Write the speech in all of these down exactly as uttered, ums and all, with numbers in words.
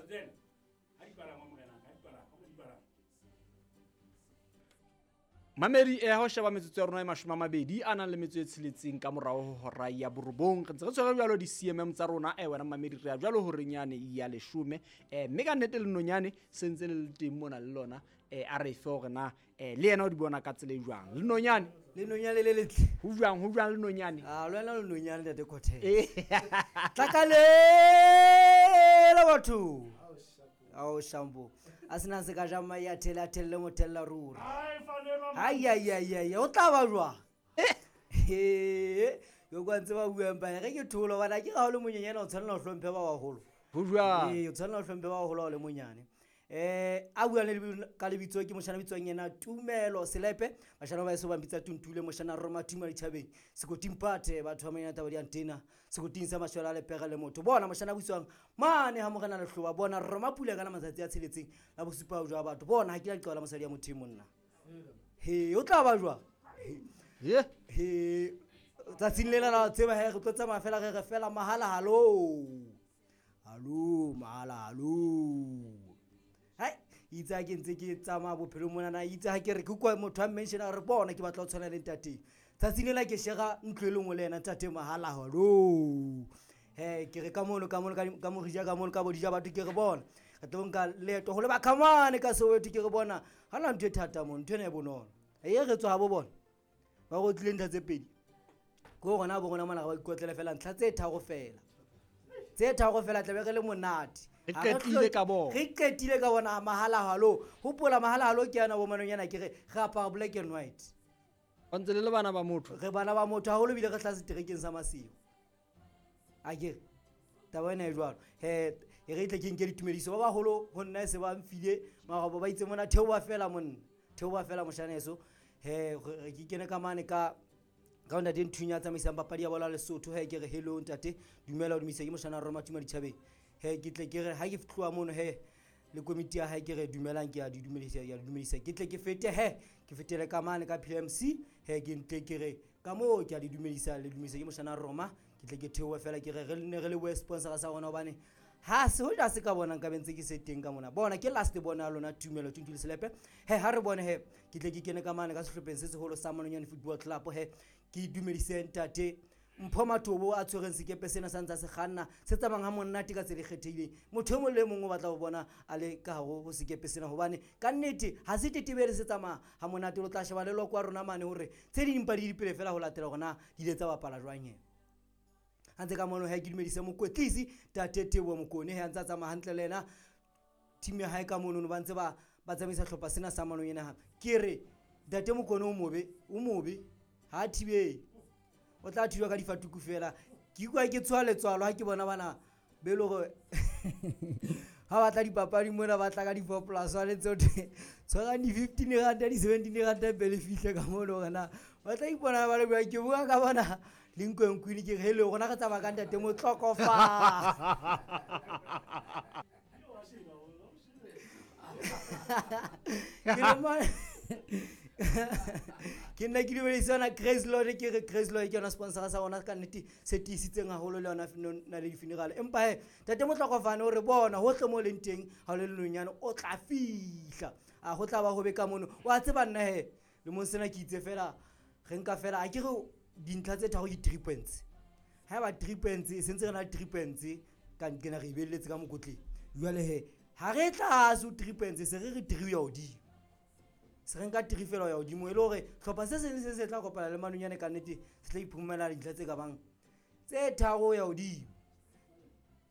Tsena ha di palangwa morenaka, ha di palangwa, ha di palangwa. Mamedi e ho sheba metsotso ya rona e mashome a mabedi a nang le metso e tsheletseng ka morao ho hora ya borobong. Re ntse re tshwere jwalo di-C M M tsa rona. Eh, wena mamedi re ya jwalo horeng yane ya leshome. Eh, mme ka nnete le nonyane se ntse le le teng mona le lona. Eh, a re fe hore na, eh, le yena o di bona ka tsela e jwang. Le nonyane? Le nonyane le letle. Ho jwang, ho jwang le nonyane? Ah, le wena le nonyane ntate Cortez. Eh. Tlakalela batho. Ao shambo. A sena se ka ja mai a thela, a thelle mo thella ruri. Ai, ai, ai, ai, o tla ba jwang? He, yo kwa ntse ba buang ba re ke tholo bana ke ga o le monyenyana o tshwanela ho hlomphe ba baholo. Ho jwang? Ee, o tshwanela ho hlomphe ba baholo ha o le monyane. Eh, a buang le lebitso, ka lebitso ke moshana bitswang yena Tumelo Selepe. Bashana ba eso ba mpitsa Tuntule, moshana Roma Tuma ditjhabeng. Sekoting Pate, batho ba manyana taba di antena. Sekoting sa mashwela le pega le motho. Bona moshana butswang mane ha morena Lehloba, bona Roma pula ka la matsatsi a tsheletseng la bosupa jwa batho. Bona ha ke la leqala mosadi ya motho e monna. He, o tla ba jwang? He. He, tsatsing lena la tseba he re tlo tsamaya fela re re fela mahala halo. Halo, mahala halo. Hai, itse ha ke ntse ke tsamaya bophelong monana, itse ha ke re ke utlwa motho a mention a re bona ke batla ho tshwana le ntate. Tsatsing lena ke shera ntlo e le nngwe le yena ntate mahala halo. He, ke re ka mono, ka mono, ka di-, ka morija, ka mono, ka bodija batho ke re bona. Re tlo nka leeto ho leba Khamane ka Soweto ke re bona. Ha na ntho e thata mono, ntho ena e bonolo. E re tswa ha bo bona. Ba go tlile ntlha tse pedi. Ke hore na bo rona mona re ba ikotlele fela ntlha tse tharo fela. Tse tharo fela tlabe re le monate. Re Ha re qetile hloke- ka bona. Re qetile ka bona mahala halo. Hopola mahala halo ke yana bo manonyana ke re re apara black and white. Ba ntse le le bana ba motho. Re bana ba motho haholo ebile re hlaha seterekeng sa Maseru. A ke re taba ena e jwalo. He, e re tle ke nke ditumediso ba baholo ho nna e se ba mfile marobo ba itse mona theoha fela monna. Theoha fela moshaneso. He, re, re ke kene ka mane ka ka ntate Nthunya a tsamaisang papadi ya bolo ya Lesotho. He, ke re hello ntate, dumela o dumedisa ke moshana Roma Tuma ditjhabeng. He, ke tle ke re ha ke tloha mono he le komiti ya hae ke re dumelang, ke a di dumedisa, ke a di dumedisa. Ke tle ke fete he, ke fetele ka mane ka P M C. He, ke ntle ke re ka moo ke a di dumedisa, le dumedisa ke moshana Roma. Ke tle ke theohe fela ke re re ne re le boe sponsor sa rona hobane ha se hoja se ka bona nka be ntse ke se teng ka mona. Bona ke last bona ya lona Tumelo Tuntule Selepe. He, ha re bone he, ke tle ke kene ka mane ka sehlopheng se seholo sa Manonyane Football Club. He, ke dumedise ntate Mpho Matobo a tshwereng sekepe sena sa ntse a se kganna, se tsamayang ha monate ka tsela e kgethehileng. Motho e mong le e mong o batla ho bona a le ka hare ho sekepe sena hobane ka nnete ha se tetebele se tsamaya ha monate. O tla sheba le loko wa rona mane hore tse ding empa di dipele fela ho latela hore na di ile tsa bapala jwang he. Ha ntse ka mono he, ke dumedise mokwetlisi Tate Teboho Mokone. He, a ntse a tsamaya hantle le yena team ya hae ka mono, ba ntse ba, ba tsamaisa hlopha sena sa manong ena hape. Ke re Ntate Mokone o mobe, o mobe ha a thibele, o tla thijwa ka difatuku fela. Ke ikutlwa ke tshoha letswalo ha ke bona bana be le hore ha ba tla dipapadi mona ba tla ka di-four plus one tse hothwe tshwarang di-fifteen ranta, di-seventeen ranta pele fihle ka mono hore na ba tla ipona ba le jwang. Ke bua ka bona Lincoln Queen, ke re hello, rona re tsamaya ka ntate Motlokofa. Ke le mona- Ke nna ke dumedisa yona Grace Lord, ke re Grace Lord ke yona sponsor sa rona ka nnete se tiisitseng haholo le yona f-, no, na le di-funeral. Empa he, Ntate Motlokofane o re bona hohle mo leng teng ha o le lenonyane o tla fihla. A ho tla ba hobe ka mono. Wa tseba nna he, lemong sena ke itse fela re nka fela a ke re dintlha tse tharo ke three points. Haeba three points, e sentse re na le three points ka nqena re ibelletse ka mokotleng. Jwale he, ha re tlase ho three points, se re re three ya hodimo. Se re nka three fela ho ya hodimo, e le hore hlopha se seng le se seng se tla kopana le manonyane ka nnete, se tla iphumana dintlha tse ka bang tse tharo ho ya hodimo.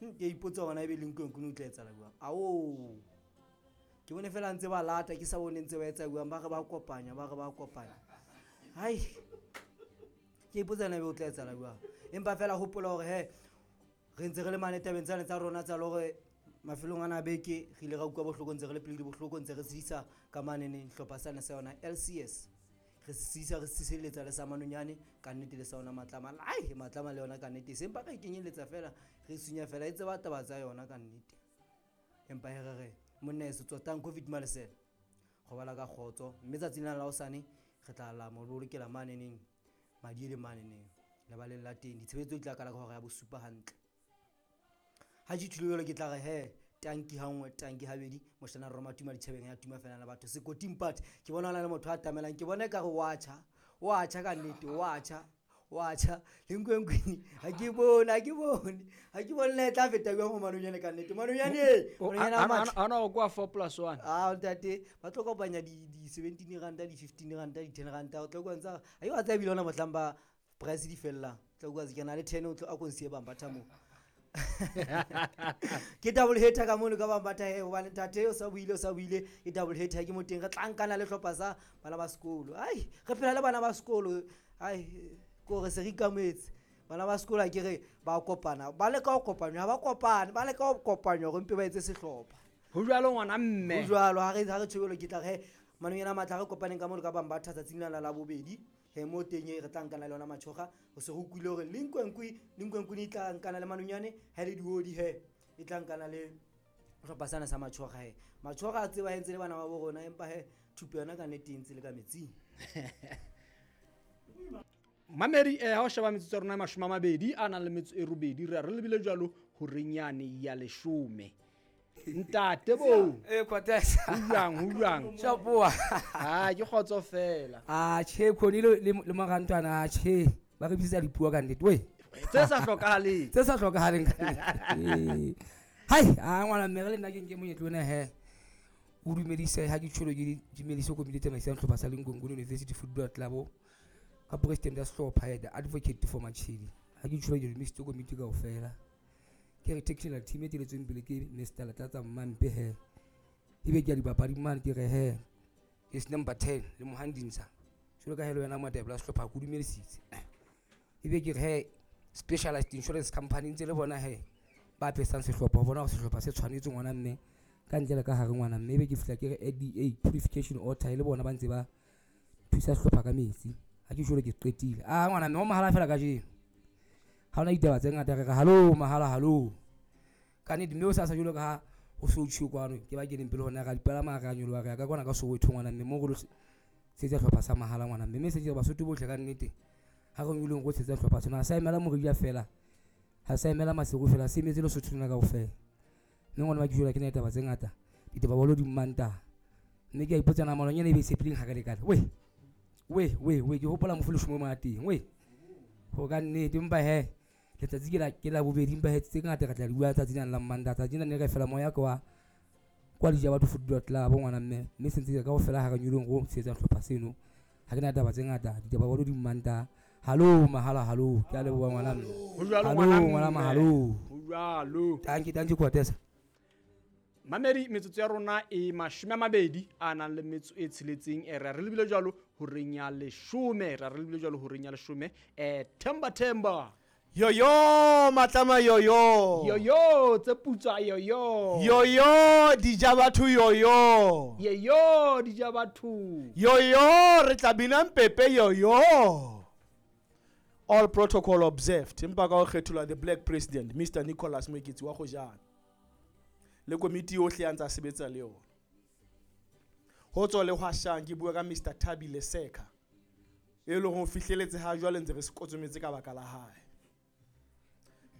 Hm, ke a ipotsa hore na ebe Lincoln Queen o tla etsahala jwang. Ao, ke bone fela ntse ba lata, ke sa bone ntse ba etsa jwang, ba re ba kopanya, ba re ba kopanya. Hai, ke ipotsa na ebe o tla etsahala jwang. Empa fela hopola hore he, re ntse re le mane tabeng tsane tsa rona tsa hore mafelong ana a beke re ile ra utlwa bohloko, ntse re le pele bohloko, ntse re sedisa ka manene hlopha sane sa yona L C S. Re sedisa, re siseletsa le sa manonyane ka nnete le sa yona Matlama. Ai, Matlama le yona ka nnete, sempa re kenyeletsa fela, re sunya fela, e tseba taba tsa yona ka nnete. Empa he re re monna heso tsotang COVID malesela, robala ka kgotso, mme tsatsing lena la hosane re tla la mo bolokela maneneng madi le maneneng lebaleng la teng. Ditshebetso di tla qala ka hora ya bosupa hantle. Ha ke tjholo jwalo ke tla re he, Tanki ha nngwe, tanki habedi, moshana roma tuma ditjhabeng ya tuma fela la batho. Sekoting part ke bona hona le motho a tamelang, ke bona ekare wa tjha, wa tjha ka nnete, wa tjha, wa tjha. Lenkwenkweni ha ke bone, ha ke bone, ha ke bone le tla feta jwang ho Manonyane ka nnete. Manonyane, Manonyane a matle. Ana o kwa four plus one. Ah, ntate, ba tlo kopanya di, di seventeen ranta, di fifteen ranta, di ten ranta, o tlo kwantsha. Ha e wa tseba ebile hona mohlang ba price di fellang. Tlo kwa ke na le ten o tlo a konsiye bambatha moo. Ke double header ka mono ka bambatha he, hobane ntate o sa buile, o sa buile, ke double header ke mo teng re tla nkana le hlopha sa bana ba sekolo. Ai, re phela le bana ba sekolo. Ai, ko re se re ikametse. Bana ba sekolo ha ke re ba kopana, ba leka ho kopanywa, ha ba kopane, ba leka ho kopanywa hore mpe ba etse sehlopha. Ho jwalo ngwana mme. Ho jwalo, ha re, ha re tjhobelo ke tla re, Manonyane a matla, re kopaneng ka mono ka bambatha tsatsing lena la bobedi. He, mo teng e re tla nkana le yona Matjhoga. Ho se ho utlwile hore Lenkwenkwe, Lenkwenkwe e tla nkana le Manonyane, ha le diodi he, e tla nkana le sehlopha sena sa Matjhoga he. Matjhoga a tseba he ntse le bana ba bo rona, empa he thupo yona ka nnete e ntse le ka metsing. Mamedi, eh, ha o sheba metsotso ya rona e mashome a mabedi a nang le metso e robedi, re a re lebile jwalo horeng yane ya leshome. Ntate bo. Eh, Cortez. Ho jwang, ho jwang? Shapoa. Ah, ke kgotso fela. Ah, tjhe, Khoni le, le, le morantwana, ah, tjhe. Ba re bitsa dipuo ka nnete, weh. Tse sa hlokahaleng. Tse sa hlokahaleng ka nnete. Hai, ah, ngwana mme re le nna ke nke monyetla ona he. O dumedise ha ke tjholo ke dumedise komiti e tsamaisang sehlopha sa Lenkwenkweni University Football Club. Ka president ya sehlopha he, the advocate for Machedi. Ha ke tjholo ke dumedisitse komiti kaofela. Ke re technical team e teletsweng pele ke Mister Latlatsa Mmampe he. Ebe ke ya dibapadi mane ke re he. Is number ten le Mohandinsa. Jwalo ka he le wena moetapele wa sehlopha ke o dumedisitse. Ebe ke re he specialized insurance company ntse le bona he ba apesang sehlopha ho bona hore sehlopha se tshwanetse ngwana mme ka ntle le ka hare ngwana mme. Ebe ke fihla ke re A D A purification water e le bona ba ntse ba thusa sehlopha ka metsi. Ha ke jwalo ke qetile. Ah, ngwana mme ho mahala fela kajeno. Ha hona ditaba tse ngata, re re hallo mahala hallo. Ka nnete mme o sa sa jwalo ka ha ho so tjho kwano ke ba keneng pele hona ra dipalama ra nyoloha re ya ka kwana ka Soweto ngwana mme mo re lo tshetsa sehlopha sa mahala ngwana mme. Mme se ke Basotho bohle ka nnete ha re nyolong go tshetsa sehlopha sena, ha sa emela Morija fela, ha sa emela Maseru fela, se emetse Lesotho lena kaofela. Mme ngwana wa ke jwalo ke na ditaba tse ngata, ditaba bolo di mmanta. Mme ke a ipotsa na malonyana e be e sepileng ha ka lekana. Weh, weh, weh, weh, ke hopola mofu leshome mo teng, weh. Ho ka nnete empa he letsatsi ke la, ke la bobedi, empa he tse ngata re tla di bua tsatsi lena la Mmanta. Tsatsi lena ne re fela moya kwa, kwa Dija Batho Football Club ngwana mme. Mme se ntse kaofela ha re nyolong go tshetsa sehlopha seno. Ha ke na taba tse ngata, ditaba bolo di mmanta. Hallo mahala hallo, ke a leboha ngwana mme. Ho jwalo Hallo, ngwana ngwana mme. Hallo. Ho jwalo. Tanki, tanki Cortez. Mamedi, metsotso ya rona e mashome a mabedi a nang le metso e tsheletseng. Eh, re a re lebile jwalo horeng ya leshome. Re a re lebile jwalo horeng ya leshome. Eh, Themba, Themba. Yoyo, matlama yoyo. Yoyo, tse putswa yoyo. Yoyo, dija batho yoyo. Yoyo, dija batho. Yoyo, re tla bina mpepe yoyo. All protocol observed. Empa ka ho kgetholwa the black president, Mister Nicholas Moeketsi wa Kgojane. Le komiti yohle ya ntsa sebetsa le yona. Ho tswa le hwashang ke bua ka Mister Thabile Seka. E leng ho fihleletse ha jwale ntse re se kotsometse ka baka la hae.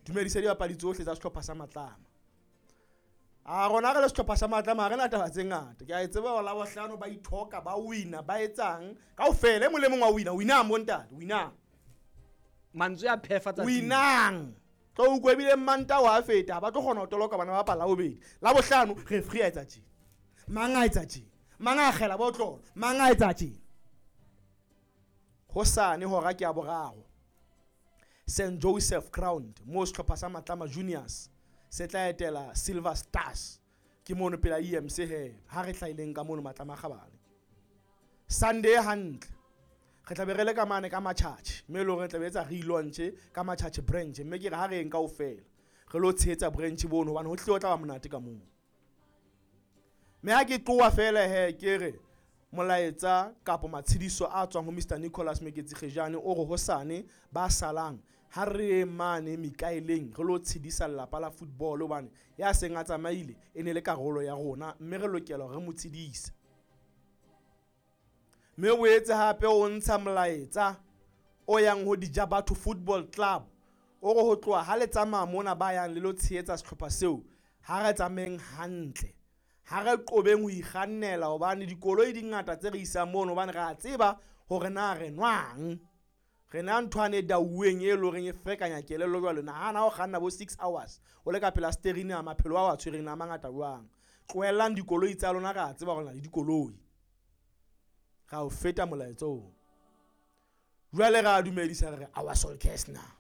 Dumedisa dibapadi tsohle tsa sehlopha sa Matlama. A rona re le sehlopha sa Matlama ha re na taba tse ngata. Ke a e tseba hore Labohlano ba ithoka, ba wina, ba etsang. Kaofela e mong le mong wa wina, winang bo ntate, winang. Mantswe a phefa tsatsing. Winang. Tlo utlwa ebile Mmantaha wa feta, ha ba tlo kgona ho toloka bana ba bapala Labobedi. Labohlano referee a etsa tjena. Mang a etsa tjena. Mang a akgela botlolo, mang a etsa tjena. Hosane hora ke ya boraro. Saint Joseph Ground, mo sehlopha sa Matlama Juniors se tla etela Silver Stars. Ke mono pela E M C he, ha re hlahileng ka mono Matlama Kgabane. Sunday hantle. Re tla be re le ka mane ka Matjhatjhe, mme e le hore re tla be etsa relaunch ka Matjhatjhe branch, mme ke re ha re eng kaofela re lo tshehetsa branch bono hobane ho tlile ho tla ba monate ka moo. Mme ha ke tloha fela he ke re molaetsa kapo matshediso a tswang ho Mister Nicholas Moeketsi Kgejane o re hosane ba salang ha re mane Mikaeleng re lo tshedisa lelapa la football hobane ya seng a tsamaile e ne le karolo ya rona mme re lokela hore re mo tshedise. Mme o boetse hape o ntsha molaetsa o yang ho Dija Batho Football Club o re ho tloha ha le tsamaya mona ba yang le lo tshehetsa sehlopha seo Ha re tsamayeng hantle, ha re qobeng ho ikgannela hobane dikoloi di ngata tse re isang mono, hobane re a tseba hore na re nwang. Re na nthwane e dauweng e leng horeng e ferekanya kelello jwale. Nahana ha o kganna bo six hours o le ka pela steering a maphelo ao a tshwereng a mangata jwang. Tlohellang dikoloi tsa lona, re a tseba hore le na le dikoloi. Ra o feta molaetsa oo. Jwale re a dumedisa re re our soul kesna.